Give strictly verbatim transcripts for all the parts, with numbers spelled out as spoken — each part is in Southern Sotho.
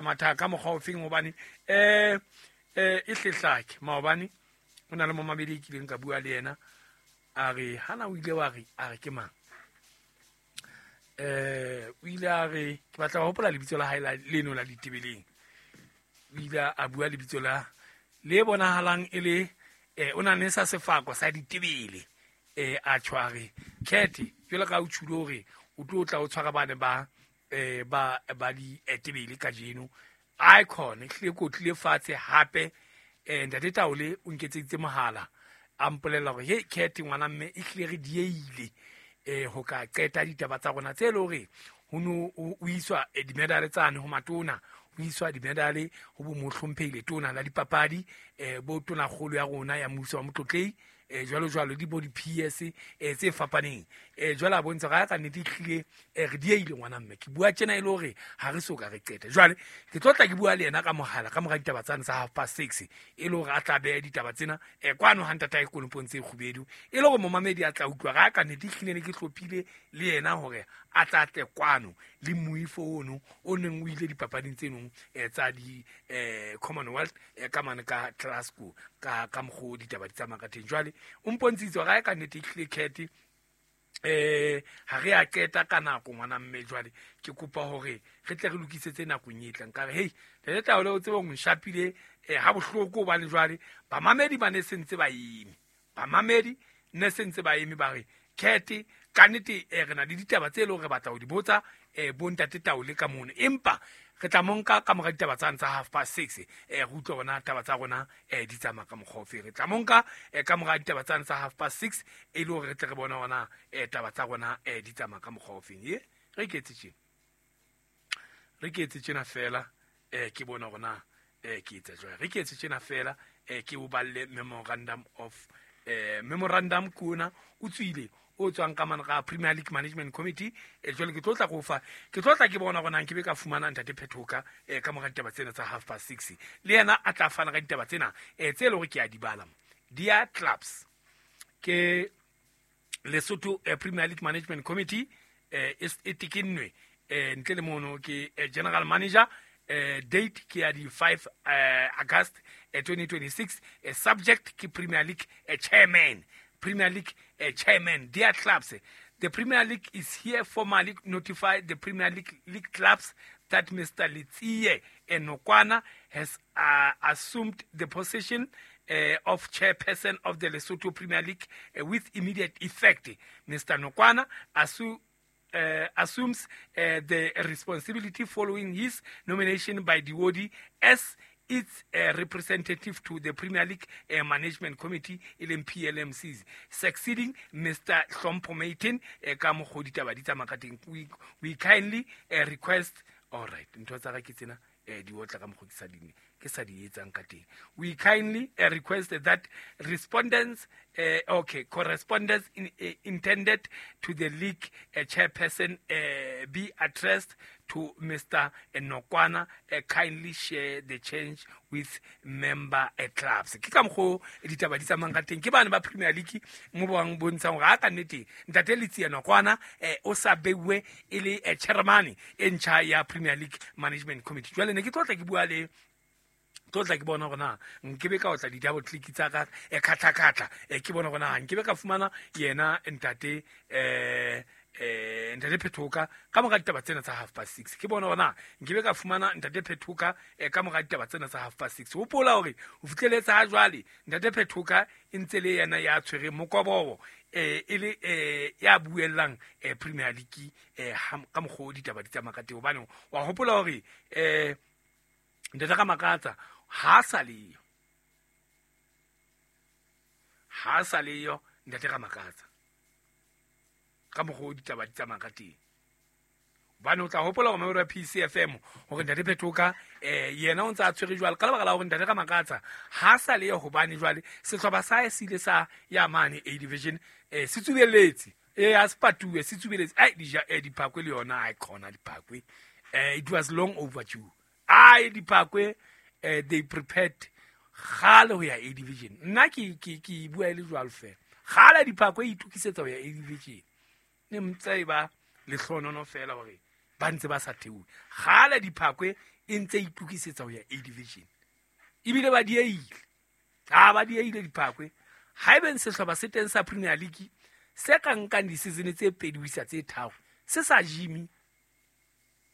Matha ka mokgwa ofeng hobane eh eh e hlehlake maobane o na le momamedi e kileng ka bua le yena a re hana o ile wa re a re ke mang eh o ile a re ke batla ho hopola lebitso la hae la leno la ditebeleng o ile a bua lebitso la le bonahalang e le eh o na ne sa sefako sa ditebele eh a tshware khethe jwale ka o tshule hore o tlo tla o tshwara bane ba eh ba ba di etebele kajeno icon ehlile ko tlile fatshe hape eh ntate Taole o nketseditse mohala a mpolela hore he khethe ngwana mme ehlile re dieile eh ho ka qeta ditaba tsa rona tse le hore ho no o iswa dimedale tsane ho matona ho iswa dimedale ho bo mohlomphehile tona la dipapadi eh bo tona kgolo ya rona ya mmuso wa motlotlei eh jwalo jwalo di bo di P S eh tse fapaneng eh jwale a bontsha ga ka nnete tlile re dieile ngwana mme ke bua tjena ile hore ha re so ka re qeta jwale ke tlo tla ke bua le yena ka mohala ka mora ditaba tsane tsa half past six e le hore a tla beha ditaba tsena eh kwano ha ntata e konopong tse kgubedu e le hore momamedi a tla utlwa ga ka nnete tlile ne ke hlophile le yena hore a tla tle kwano le moifo ono o neng o ile dipapading tse nong tsa di eh Commonwealth ka mane ka Glasgow ka ka mokgo ditaba di tsamaya ka teng jwale o mpontshitse ga ka nnete tlile khethe eh ha re a qeta ka nako ngwana mme jwale ke kopa hore re tle re lokisetse nakong e tlang ka re hey le tla o tsebe go nshapile eh ha bohloko hobane jwale bamamedi ba ne sentse ba eme bamamedi ne sentse ba eme ba re khethe ka nnete re na le ditaba tse le hore re batla ho di botsa eh bo ntate Taole ka mono empa re tla monka ka mora ditaba tsa half past six eh re utlwa bona taba tsa rona eh di tsamaya ka mokgwa ofe re tla monka ka mora ditaba tsa half past six e le hore re tle re bona ona eh taba tsa rona eh di tsamaya ka mokgwa ofe ye re ke etse tjena re ke etse tjena fela eh ke bona rona eh ke etsa jwang re ke etse tjena fela eh ke o balle memorandum of eh memorandum kuna o tswile o tswang ka mana ga Premier League Management Committee e jwale ke tlotla go fa ke tlotla ke bona gona nke be ka fumana ntate Phethoka e ka mora ditaba tsena tsa half past six le yena a tla fana ka ditaba tsena e tse le hore ke a di bala dia clubs ke Lesotho Premier League Management Committee eh e tekennwe eh ntle le mono ke general manager eh date ke ya di five August twenty twenty-six subject ke Premier League chairman Premier League uh, chairman, dear clubs, the Premier League is here formally notify the Premier League, League clubs that Mister Letsie Nokwana has uh, assumed the position uh, of chairperson of the Lesotho Premier League uh, with immediate effect. Mister Nokwana assumed Uh, assumes uh, the responsibility following his nomination by the body as its uh, representative to the Premier League uh, Management Committee, L M P L M Cs, succeeding Mister Hlompho Maitin. We, we kindly uh, request, all right, we kindly uh, request that respondents, uh, okay, correspondence in, uh, intended to the league uh, chairperson uh, be addressed to Mister Nokwana. Uh, kindly share the change with member uh, clubs. Ke ka mokgo ditaba di tsamayang ka teng ke bana ba Premier League mo bang bontshang hore a ka nnete ntate Letsie Nokwana o sa beuwe e le chairman e ntjha ya Premier League Management Committee. Jwale ne ke tlotla ke bua le tlotla ke bona hore na nke be ka otla di-double click tsa ka e khatla-khatla e ke bona hore na nke be ka fumana yena ntate eh eh ntate Phethoka ka mora ditaba tsena tsa half past six ke bona hore na nke be ka fumana ntate Phethoka ka mora ditaba tsena tsa half past six hopola hore ho fihleletse ha jwale ntate Phethoka e ntse le yena ya tshwereng mokobobo eh e le eh ya buellang eh Premier League eh ka mokgo ditaba di tsamaya ka teng hobane wa hopola hore eh ntate ka makatsa ha sa leyo ha sa leyo ntate ka makatsa ka mokgo ditaba di tsamaya ka teng hobane o tla hopola hore memoro ya P C F M hore ntate Phethoka eh yena o ntse a tshwere jwale ka lebaka la hore ntate ka makatsa ha sa leyo hobane jwale sehlopha sa hae se ile sa ya mane A division eh se tsubeletse eh a se patuwe se tsubeletse ai dija eh diphakwe le yona ai khona diphakwe eh it was long overdue ai diphakwe eh they prepared gale ho ya A division nna ke ke ke bua ile jwalo fela gale diphakwe e itukisetsa ho ya A division ne mtse ba lehlonono fela hore ba ntse ba sa theohe gale diphakwe E ntse e itokisetsa ho ya A division. Ebile ba dieile. Ha ba dieile Diphakwe. Haebeng sehlopha se teng sa Premier League se ka nkang di-season tse pedi ho isa tse tharo se sa jimi,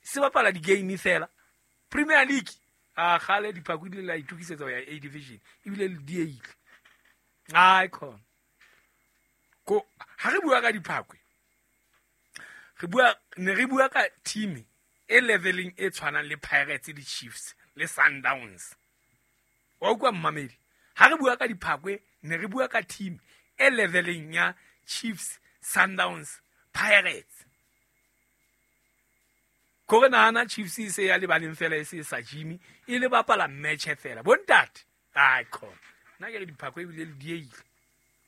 se bapala di-game fela. Premier League a kgale Diphakwe di la itokisetsa ho ya A division ebile le dieile. Ai khona. Ko ha re bua ka Diphakwe, re bua ne re bua ka team e leveling e tshwanang le Pirates le Chiefs le Sundowns. Wa utlwa mmamedi? Ha re bua ka Diphakwe ne re bua ka team e leveling ya Chiefs, Sundowns, Pirates. Ko re nahana Chiefs e se ya lebaleng fela e se sa Jimmy e le bapala match fela. Bontate, ai khona. Nna ke re Diphakwe ebile le dieile.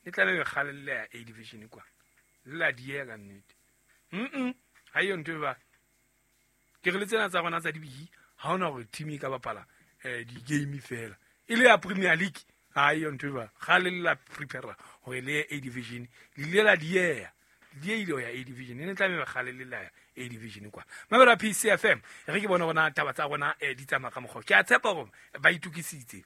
Le tla be kgale le ya A division kwa. Le la diega ka nnete. Mm-mm, ha eyo ntho e ba. Ke re le tsena tsa rona tsa dibiki, ha hona hore team e ka bapala eh di-game fela. E le ya Premier League, ha eyo ntho e ba. Kgale le la prepare hore le ye A division, le ile la dieha. Le dieile ho ya A division. E ne tla be kgale le la ya A division kwa. Mamela P C F M, re ke bona rona taba tsa rona eh di tsamaya ka mokgwa. Ke a tshepa hore ba itokisitse.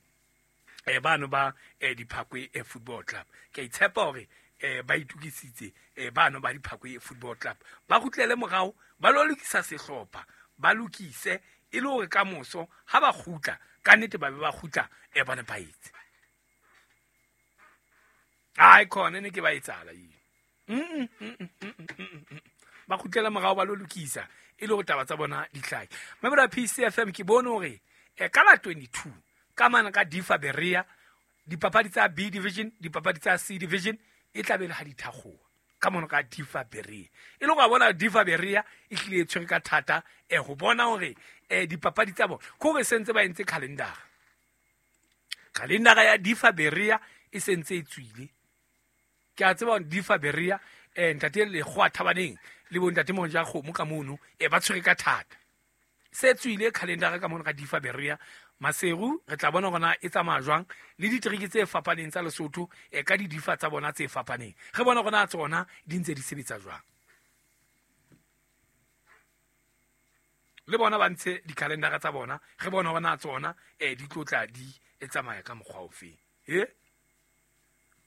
Eh bano ba eh Diphakwe eh, Football Club. Ke a itshepa hore eh ba itokisitse eh bano ba Diphakwe Football Club. Ba kgutlele morao, ba lo lokisa sehlopha, ba lokise e le hore ka moso ha ba kgutla, ka nnete ba be ba kgutla eh ba nepahetse. Ai khona ne ke ba etsala eo. Mm mm mm mm mm. Ba kgutlela morao ba lo lokisa e le hore taba tsa bona di hlahe. Mamela P C F M ke bone hore eh ka la twenty-two ka mane ka Difa Berea dipapadi tsa B division, dipapadi tsa C division e tla be le ha di thakgoa ka mono ka Difa Berea. E le go bona Difa Berea e hlile e tshwere ka thata eh ho bona hore eh dipapadi tsa bona ko re sentse ba entse calendar. Calendar ya Difa Berea e sentse e tswile. Ke a tseba hore Difa Berea eh ntate le kgwa thabaneng le bo ntate Monja kgomo ka mono eh ba tshwere ka thata. Se tswile calendar ka mono ka Difa Berea. Maseru re tla bona hore e tsamaya jwang le diteriki tse fapaneng tsa Lesotho e ka di difa tsa bona tse fapaneng. Re bona hore tsona di ntse di sebetsa jwang. Le bona ba ntshe di-calendar tsa bona, re bona hore tsona eh di tlotla di e tsamaya ka mokgwa ofe. Eh?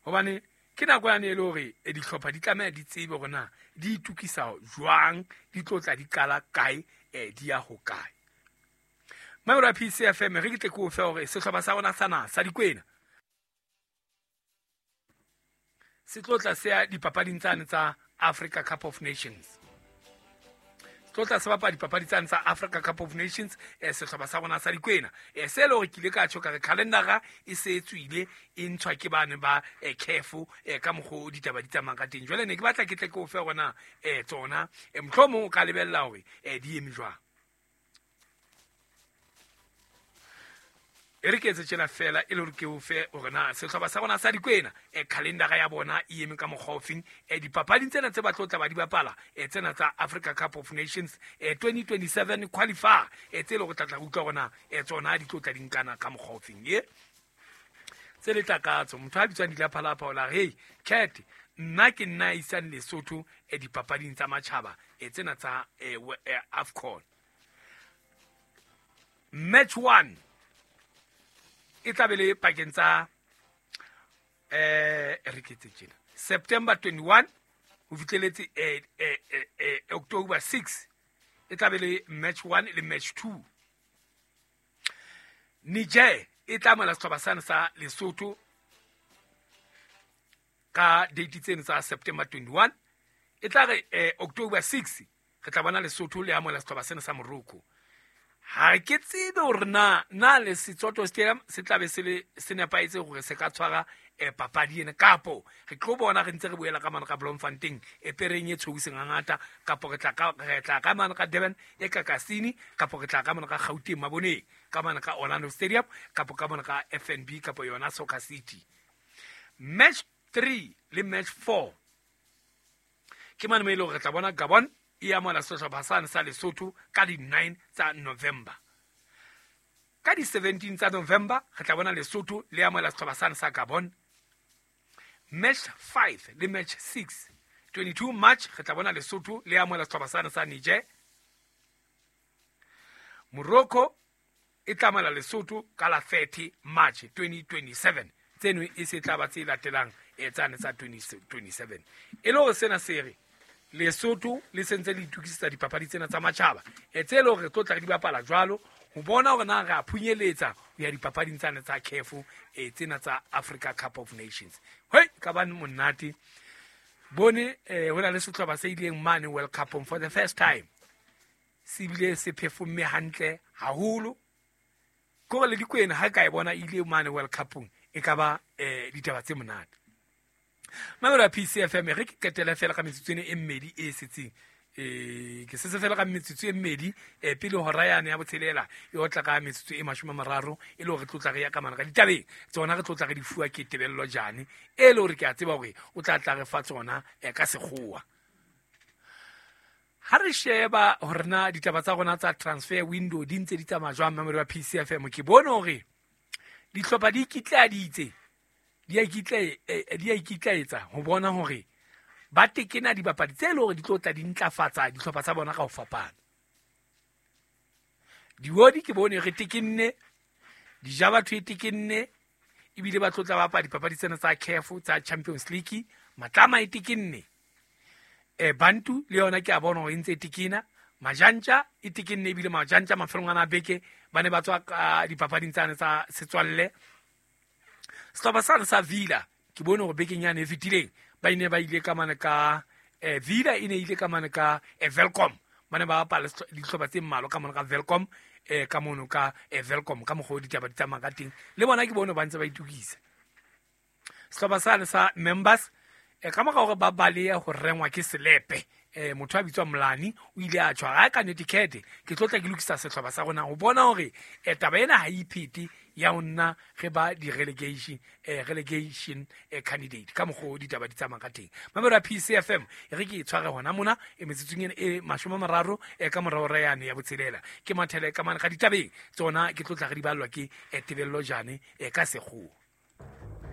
Hobane ke nako yane e le hore e dihlopha di tlameha di tsebe hore na di itukisa jwang, di tlotla di qala kae, eh di ya ho kae. Mamela P C F M re ke tle ke o fe hore sehlopha sa rona sa naha sa Dikwena se tlotla se ya dipapading tsane tsa Africa Cup of Nations. Se tlotla se bapala dipapadi tsane tsa Africa Cup of Nations eh sehlopha sa rona sa Dikwena. Eh se le hore ke ile ka tjho ka re calendar e se e tswile e ntshwa ke bane ba eh C A F eh ka mokgo ditaba di tsamayang ka teng. Jwale ne ke batla ke tle ke o fe hore eh tsona eh mohlomong o ka lebella hore eh di eme jwang. E re ke etse tjena fela e le hore ke o fe hore na sehlopha sa rona sa Dikwena e calendar ya bona e eme ka mokgwa ofeng e dipapading tsena tse ba tlo tla ba di bapala e tsena tsa Africa Cup of Nations e twenty twenty-seven qualifier e tse le go tla tla utlwa hore na e tsona di tlo tla di nkana ka mokgwa ofeng e tse le takatso motho a bitswang Dilaphalapha o la hey cat nna ke nna isang Lesotho e dipapading tsa matjhaba e tsena tsa AFCON match one e tla be le pakeng tsa eh re ke tse tjena September twenty-one ho fihleletse eh eh October six e tla be le match one le match two. Niger e tla mala sehlopha sane sa Lesotho ka date tseno tsa September twenty-one e tla re eh, October six re tla bona Lesotho le amohela sehlopha sena sa Morocco. Ha ke tsebe hore na na le Setsoto Stadium se tla be se le se nepahetse hore se ka tshwara eh, papadi ena kapo re tlo bona re ntse re boela ka mane ka Bloemfontein e pereng e tshweuseng hangata kapo re tla ka re tla ka mane ka Durban e ka Kasini kapo re tla ka mane ka Gauteng Maboneng ka mane ka Orlando Stadium kapo ka mane ka F N B kapo yona Soccer City. Match three le match four ke mane mo e leng hore re tla bona Gabon e amohela sehlopha sane sa Lesotho ka di nine tsa November. Ka di seventeen tsa November re tla bona Lesotho le amohela sehlopha sane sa Gabon. Match five le match six twenty-two March re tla bona Lesotho le amohela sehlopha sane sa Niger. Morocco e tlamela Lesotho ka la thirty March twenty twenty-seven. Tseno e se tla ba tse latelang e tsane tsa twenty twenty-seven. E le hore sena se re Lesotho le sentse le itukisetsa dipapadi tsena tsa matjhaba e tse le hore re tlo tla re di bapala jwalo ho bona hore na re a phunyeletsa ho ya dipapading tsane tsa C A F e tsena tsa Africa Cup of Nations. Hoi ka ba monate bone eh ho na le sehlopha se ileng mane World Cup for the first time se bile se performe hantle haholo. Ko le dikwena ha ka e bona ile mane World Cup e ka ba eh ditaba tse monate. Mamela P C F M re ke qetela fela ka metsotso e mmedi e setseng. Eh ke se se fela ka metsotso e mmedi eh pele hora yane ya botshelela e otla ka metsotso e mashome a mararo e le hore tlotla re ya ka mana ka ditabeng tsona re tlotla re di fuwa ke Tebello Jane e le hore ke a tseba hore o tla tla re fa tsona ka sekgowa. Ha re sheba hore na ditaba tsa rona tsa transfer window di ntse di tsamaya jwang mamelo wa P C F M ke bone hore dihlopha di ikitlaeditse di a ikitlae di a ikitlaetsa ho bona hore ba tekena dibapadi tse le hore di tlo tla di ntlafatsa dihlopha tsa bona ka ho fapana. Diwodi ke bone re tekenne, Dijabatho e tekenne, ebile ba tlo tla bapala dipapadi tsena tsa C A F tsa Champions League, Matlama e tekenne. Eh Bantu le yona ke a bona hore e ntse e tekena, Majantja e tekenne ebile Majantja mafelong ana a beke ba ne ba tswa ka dipapading tsane tsa setswalle. Sehlopha sane sa Villa ke bone hore bekeng yane e fetileng ba ile ba ile ka mane ka eh Villa e ne ile ka mane ka eh, Welkom ba ne ba bapala dihlopha tse mmalwa ka mane ka Welkom eh ka mono ka eh, Welkom ka mokgwa o ditaba di tsamaya ka teng le bona ke bone ba ntse ba itukisa. Sehlopha sane sa Members eh ka mora hore ba baleya ho rengwa ke selepe eh motho a bitswa Mlani o ile a tshwara ka netiquette ke tlo tla ke lokisa sehlopha sa rona ho bona hore eh taba ena ha iphete ya nna re ba di relegation eh relegation eh candidate ka mokgwa o ditaba di tsamaya ka teng. Mamelo ya P C F M e re ke e tshware hona mona e metsotsong e mashome a mararo e ka morao re yane ya botshelela ke mathele ka mane ga ditabeng tsona ke tlo tla re di ballwa ke Tebello Jane e ka sekgowa.